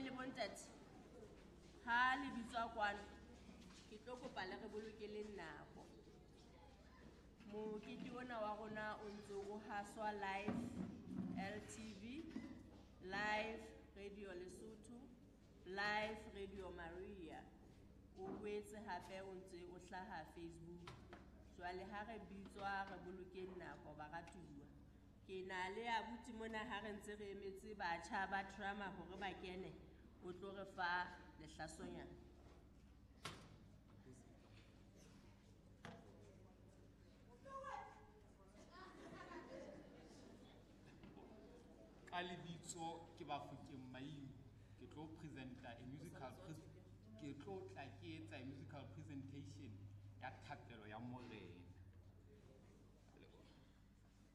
le bontate ha le bitswa kwano, ke tlo kopa le re bolokeleng nako. Mokete ona wa rona o ntse o haswa live LTV, live Radio Lesotho, live Radio Maria. O boetse hape o ntse o hlaha Facebook. Jwale ha re bitswa re bolokeng nako, baratuwa. Ke na le abuti mona ha re ntse re emetse batjha ba drama hore ba kene, o tlo re fa lehlasonyana. Ka lebitso ke Bafokeng Maimo. Ke tlo presenta a musical, ke tlo tla ke etsa a musical presentation.